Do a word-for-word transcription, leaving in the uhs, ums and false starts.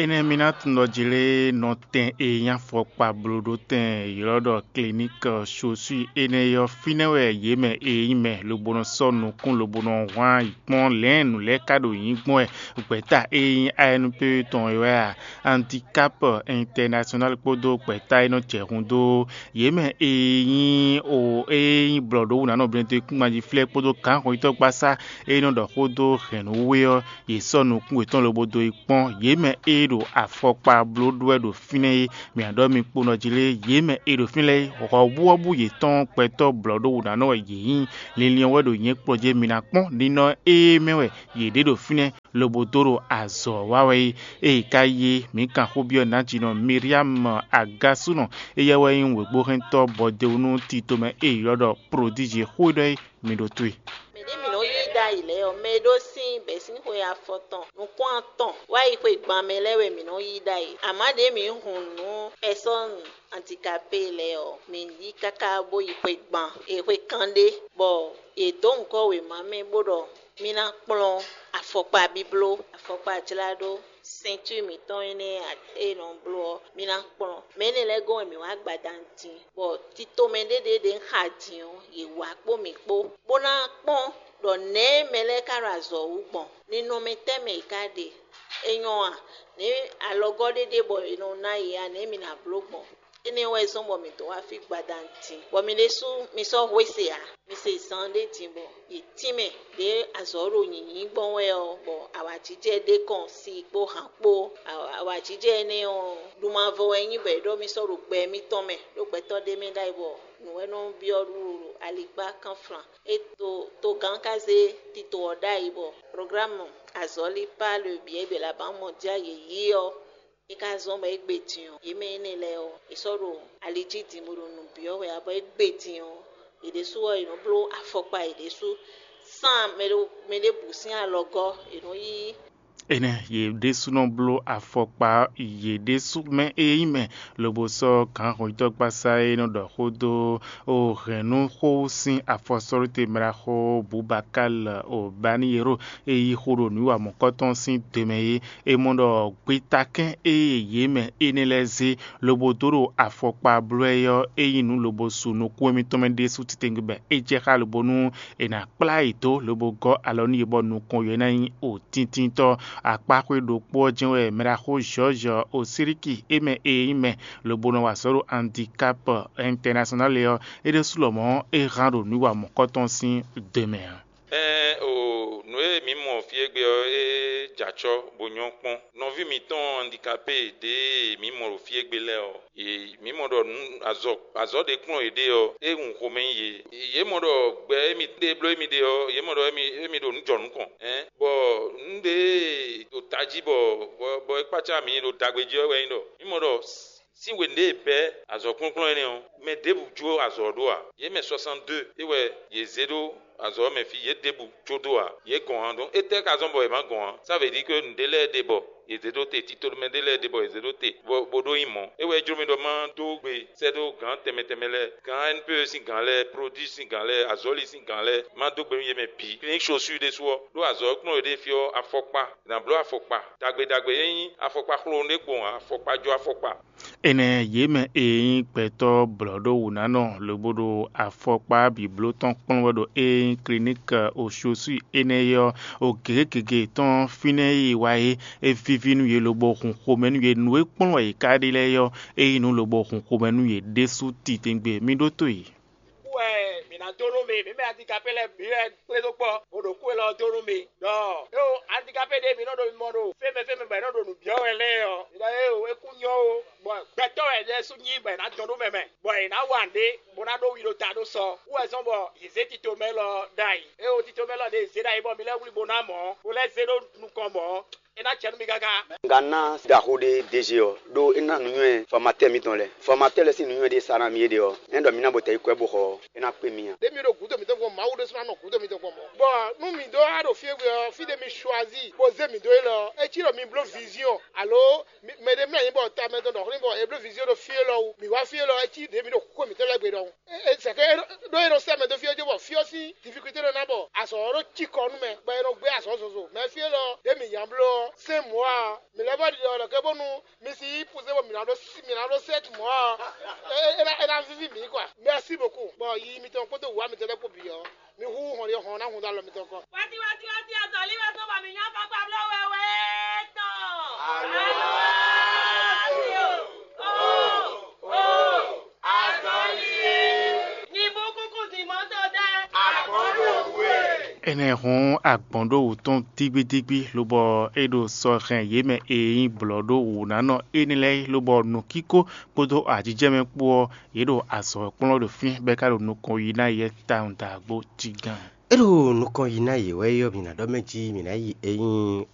Énɛ́ mi ná tunwun ɖɔ jlé nɔtɛn e nyí afɔkpa blóɖótɛn e ylɔ́ ɖɔ Kliník Sosui énɛ́ ɔ́, fínɛ́ wɛ yě mɛ e nyí mɛ lobo nɔ sɔ́ nukún lobo nɔ hwan yi kpɔ́n lɛ̌n nǔ lɛ́ɛ ka ɖo nyǐ gbɔn wɛ. Gbɛ̌ta e nyí A N P tɔn é wɛ a? Handicap International kpódó gbɛ̌ta e nɔ jɛ hun dó yě mɛ e nyí o e nyí blɔ̌ɖówǔnánɔ Blɛndekúngbánjíflɛ́ kpódó gǎnhɔnyitɔ́gbasá e nɔ ɖɔ xó dó hɛ̌nnúwe ɔ́, yě sɔ́ nukún yětɔn lobo dó yi kpɔ́n. Yě mɛ e ɖo afɔkpa bló ɖó wɛ ɖo fínɛ́ é, mǐ ná ɖɔ mi kpo nɔ jí lé, yě mɛ e ɖo fínɛ́ lɛ́ɛ é, hɔ̌buhɔ́bú yětɔn gbɛtɔ́ blɔ̌ɖówǔnánɔ wɛ yě nyí. Linlin ɔ́ wɛ ɖo nyɛ̌ kplɔ́n jɛ́n mi ná kpɔ́n ninɔ e mɛ wɛ yě ɖe ɖo fínɛ́ lobo dó ɖo azɔ̌ wa wɛ é. Ée ka yi é, mǐ kan xó byɔ́ nǎjínɔ Miriam Agasúnɔ, éyɛ́ wɛ nyí wěgbóhɛntɔ́ bɔdewunu titomɛ e è ylɔ́ ɖɔ Prodíji xó e ɖɔ é, mi ɖo tó e. Mɛ ɖě mǐ nɔ yí ɖ'ayǐ lɛ́ɛ ɔ́, mɛ e ɖó sín bɛ̌sínxwe afɔtɔn nukún atɔn wá yi xwe gban mɛ lɛ́ɛ wɛ mǐ nɔ yí ɖ'ayǐ. Amǎ ɖě mǐ hun nǔ pɛsɔ́nu andikapé lɛ́ɛ ɔ́, mǐ yí káká bó yi xwe gban e xwe kanɖé, bɔ yě dó nyǐkɔ wěma mɛ bó ɖɔ mí ná kplɔ́n afɔkpa bíbló, afɔkpa jláɖó, sɛntúri mǐtɔn énɛ́ e è nɔ bló ɔ́, mí ná kplɔ́n. Mɛ énɛ́ lɛ́ɛ gɔ́n wɛ mǐ wá gbadanu din, bɔ titomɛ ɖé ɖě ɖě un xa din ɔ́, yě wá kpó mǐ kpó, bó ná kpɔ́n ɖɔ nɛ̌ mɛ lɛ́ɛ ka ɖo azɔ̌ wú gbɔn, ninɔmɛ tɛ́ mɛ yě ka ɖe. É nyɔ́ a? Nɛ̌ alɔgɔ́ ɖé ɖe bɔ è nɔ ná yě a? Nɛ̌ mi ná bló gbɔn? Énɛ́ wɛ zɔ́n bɔ mǐ dó wá fí gbadanu din, bɔ mi ɖésú mi sɔ́ hwe se ǎ. Mi se zan ɖé din bɔ yě tínmɛ ɖě azɔ̌ ɖo nyǐnyí gbɔn wɛ ɔ́, bɔ awǎjijɛ ɖé kɔn si kpó han kpó. Awǎjijɛ énɛ́ ɔ́, ɖumavɔ wɛ nyí bɔ è ɖɔ mì sɔ́ ɖo gbɛ mitɔn mɛ, ɖó gbɛtɔ́ ɖé mɛ ɖ'ayǐ bɔ nǔ wɛ nɔ byɔ́ ɖuɖu ɖo alikpá kánflan. É to togán ka zé tito ɔ́ ɖ'ayǐ bɔ programme azɔ̌lí Pas le biais de la Banque mondiale yě yí ɔ́, é ka zɔ́n bɔ é gbe din ɔ́, yě mɛ énɛ́ lɛ́ɛ ɔ́, è sɔ́ ɖo ali jí din bó ɖo nǔ byɔ́ wɛ ǎ, bɔ é gbe din ɔ́, yě ɖésú ɔ́, yě nɔ bló afɔkpa yě ɖésú sán mɛ ɖo mɛ ɖěbǔ sín alɔgɔ́, yě nɔ yí. Énɛ́ yě ɖésúnɔ bló afɔkpa yě ɖésú mɛ e nyí mɛ, lobo sɔ́ gǎnhɔnyitɔ́gbasá e nɔ ɖɔ xó dó o hɛ̌nnúxó sín afɔsɔ́ɖóte mɛɖaxó Bubakal Obaniyero e yí xó ɖo nǔwiwa mɔ̌kɔtɔn sín do mɛ é. È mɔ ɖɔ gbetakɛ́n e yě mɛ énɛ́ lɛ́ɛ zé lobo dó ɖo afɔkpa bló ɛ ɔ́, é nyí nǔ lobo su nukún émítɔn mɛ ɖésú titewungbe bɔ é jɛ xá lobo nú è nǎ kplá yě dó lobo gɔ́ alɔ nú yě bɔ nukɔn yě ná nyí o tíntínntɔ́. Akpáxwé ɖokpó ɔ́ jɛ́n wɛ mɛɖaxó George Osiriki é mɛ e nyí mɛ lobo nɔ wa azɔ̌ ɖo Handicap International ɔ́, é ɖésú lɔmɔ̌ é hán ɖo nǔwiwa mɔ̌kɔtɔn sín do mɛ ǎ. Ɛɛn o, nǔ e mǐ mɔ fí égbé ɔ́, é jɛ acɔ́ bó nyɔ́ kpɔ́n. Nɔví mǐtɔn handikapé ɖě e mǐ mɔ ɖo fí égbé lɛ́ɛ ɔ́, yě mǐ mɔ ɖɔ nǔ azɔ̌ azɔ̌ ɖé kplɔ́n yěɖée ɔ́, é hun xomɛ nyi yě. Yě mɔ ɖɔ gbɛ émí ɖe bló émí ɖe ɔ́, yě mɔ ɖɔ émí émí ɖo nǔ jɔ nukɔn, ɛn bɔ nǔ ɖé ɖo tají bɔ bɔ bɔ é kpácá mǐ ɖo dagbe jí ɔ́ wɛ nyí ɖɔ mǐ mɔ ɖɔ sín hwenu ɖé e bɛ́ azɔ̌kplɔ́nkplɔ́n énɛ́ ɔ́, mɛ ɖěbǔ jó azɔ̌ ɔ́ ɖó ǎ. Yě mɛ soixante-deux é wɛ yě zé ɖó azɔ̌ ɔ́ mɛ fí, yě ɖěbǔ jó dó ǎ. Yě gɔn ǎ, ɖɔn étɛ́ ka zɔ́n bɔ yě má gɔn ǎ? Sá vě ɖi có nǔɖé lɛ́ɛ ɖe bɔ yě zé ɖó te, tito mɛ ɖé lɛ́ɛ ɖe bɔ yě zé ɖó te, bɔ bó ɖó nyí mɔ̌. É wɛ é jló mì ɖɔ má dó gbe sɛ́ ɖó gǎn tɛnmɛ tɛnmɛ lɛ́ɛ, gǎn N P E sín gǎn lɛ́ɛ, Prodíj sín gǎn lɛ́ɛ, Azɔ̌li sín gǎn lɛ́ɛ, má dó gbe nú yě mɛ bǐ. Kliník Sosúi ɖésú ɔ́, ɖó azɔ̌ e kplɔ́n yě ɖe fí ɔ́, afɔkpa, è nǎ bló afɔkpa ɖagbe ɖagbe e nyí afɔkpa xlonɔ ɖé kpowun ǎ, afɔkpa jó afɔkpa. Énɛ́ yě mɛ e nyí gbɛtɔ́ blɔ̌ɖówǔnánɔ lobo ɖo afɔkpa bǐbló tɔn kplɔ́n wɛ ɖo e nyí kliník Oshosui énɛ́ é ɔ́, o gěgé gěgé tɔn fínɛ́ e yi wá é, é víví nú yě lobo hun xomɛ nú yě. Nǔ e kplɔ́n wɛ yě ká ɖe lɛ́ɛ é ɔ́, é nyí nǔ lobo hun xomɛ nú yě ɖésú titewungbe. Mi ɖótó e. Kú wɛ mǐ ná dó nú mi, mǐ mɛ handikapé lɛ́ɛ bǐ wɛ kplé dó kpɔ́, bó ɖo kú élɔ́ dó nú mi. Ɖɔ éwo handikapé ɖé mi nɔ ɖo mimɔ ɖo fɛ́nmɛ fɛ́nmɛ bɔ è nɔ ɖo nǔ byɔ́ wɛ lɛ́ɛ ɔ́, mi ɖɔ éwo é kú nyɔ́ ó, bɔ gbɛtɔ́ wɛ Jezu nyí bɔ è nǎ dɔn nú mɛ mɛ, bɔ è nǎ wa nǔɖé, bó ná ɖó wi ɖo ta ɖó sɔ. Kú wɛ zɔ́n bɔ yě zé tito mɛ lɔ ɖ'ayǐ. Éwo tito mɛ lɔ ɖě zé ɖ'ayǐ bɔ mi lɛ́ wlí bó ná mɔ̌, bó lɛ́ zé ɖó nukɔn mɔ̌, é ná jɛ nú mi káká. Gǎn ná ɖaxó ɖé D G ɔ́, ɖó é ná nǔnywɛ́ fɔmatɛ́ mitɔn lɛ́ɛ. Fɔmatɛ́ lɛ́ɛ sín nǔnywɛ́ ɖé sa ná mì é ɖe ɔ́, é ɖɔ mi ná bɔ tɛ̌ yi kwɛ́ bó xɔ ɔ́, é ná kpé mi ǎ. Ɖě mi ɖo gǔdo mitɔn gbɔn, Mawu ɖésú ná nɔ gǔdo mitɔn gbɔn mɔ̌. Bɔ nú mǐ ɖó wá ɖo fí e gbe ɔ́, fí ɖé mi suazí bó zé mǐ dó élɔ́ ɔ́, é cí ɖɔ mi bló viziɔn, alo mɛɖé mlɔ́ anyi bɔ tamɛ tɔn ɖɔ xlín bɔ è bló viziɔn ɖo fí élɔ́ wú. Mǐ wá fí élɔ́, é cí ɖě mi ɖo xúxó mǐtɔn lɛ́ɛ gbe ɖɔhun. Sɛkɛ ɖó é nɔ sɛ́ mɛ dó fí ɔ́ jó bɔ fí ɔ́ sín difikulté nɔ ná bɔ azɔ̌ ɔ́ ɖó cikɔ nú mɛ, bɔ è nɔ gbé azɔ̌ zozo. Mɛ fí élɔ́ ɖě mǐ nya bló ɔ́, Sɛ́n mɔ̌ ǎ, mǐ lɛ́ vɔ ɖiɖɔ ɖɔ kɛ bónú mi si yí puzé bɔ mǐ ná ɖó mǐ ná ɖó sɛ́t mɔ̌ ɔ́, é ná víví mǐ kwa. Mɛsí bǒku, bɔ yiyi mitɔn kpódó wǔwá mitɔn lɛ́ɛ kpó bǐ ɔ́, mi hú hɔn ɖi hɔn ná hun dó alɔ mitɔn kɔ. Wáti wáti wáti azɔ̌lí wɛ sɔ́ bɔ mǐ nyɔ́ kpakpa bló wɛ wɛ tɔn. Alo. Azɔ̌lí e. Nyibú kúkú din mɔ̌ tɔn dá. Agbɔ̌n ɖo wú e. Énɛ́ hɔn agbɔ̌n ɖó wǔ tɔn dígbídígbí, lobɔ é ɖo sɔ́ hɛn yě mɛ e nyí blɔ̌ɖówǔnánɔ énɛ́ lɛ́ɛ é, lobɔ nǔkíkó kpódó ajijɛ mɛ kpó ɔ́, yě ɖo azɔ̌ kplɔ́n ɖo fí, bɔ é ka ɖo nukɔn yi ná yɛ tawun dǎgbó jí gán. É ɖo nukɔn yi ná yě wɛ é ɔ́, mǐ ná ɖɔ mɛ jí mǐ ná yi e nyí